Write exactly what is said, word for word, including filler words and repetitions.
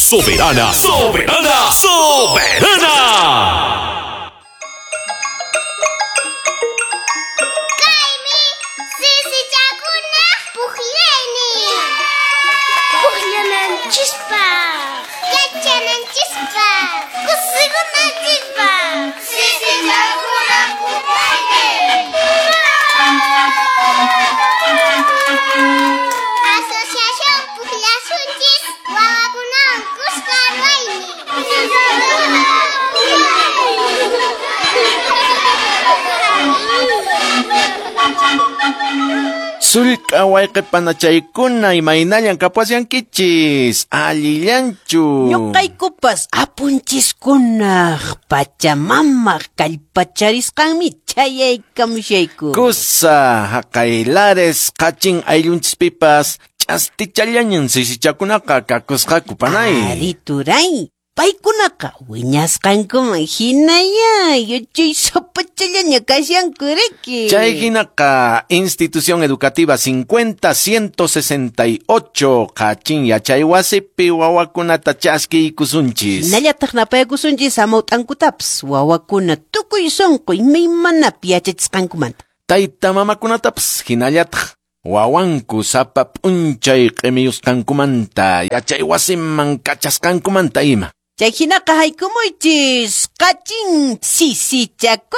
Soberana, soberana, soberana. Kaymi sisichakuna pukllaynin. Pukllananchispaq, yachananchispaq, kusikunanchispaq. Sisichakuna pukllaynin. Asociación Pukllasunchis wawakunawan kuska ruwaynin. Sullk'a wayqipanachaykuna imaynallan kapasyankichis, allillanchu. Ñuqaykupas apunchiskunaq pachamamaq kallpacharisqanmi chayaykamushayku. Kusa haqay Lares qachin ayllunchispipas ch'astichallañan sisichakunaqa kakusqaku panay. Ari turay, paykunaqa wiñasqankuman hinaya yachaysapachallaña kashanku riki. Chay hinaqa Institución Educativa cincuenta ciento sesenta y ocho qachin yachaywasipi wawakunata chaskiykusunchis. Hinallataq napaykusunchis hamawt'ankutapas wawakuna tukuy sunqu imaymanapi yachachisqankumanta. Tayta mamakunatapas hinallataq wawanku sapa p'unchay q'imiyusqankumanta yachaywasiman kachasqankumanta ima. Chay hinaqa haykumuychis qachin sisichakuna.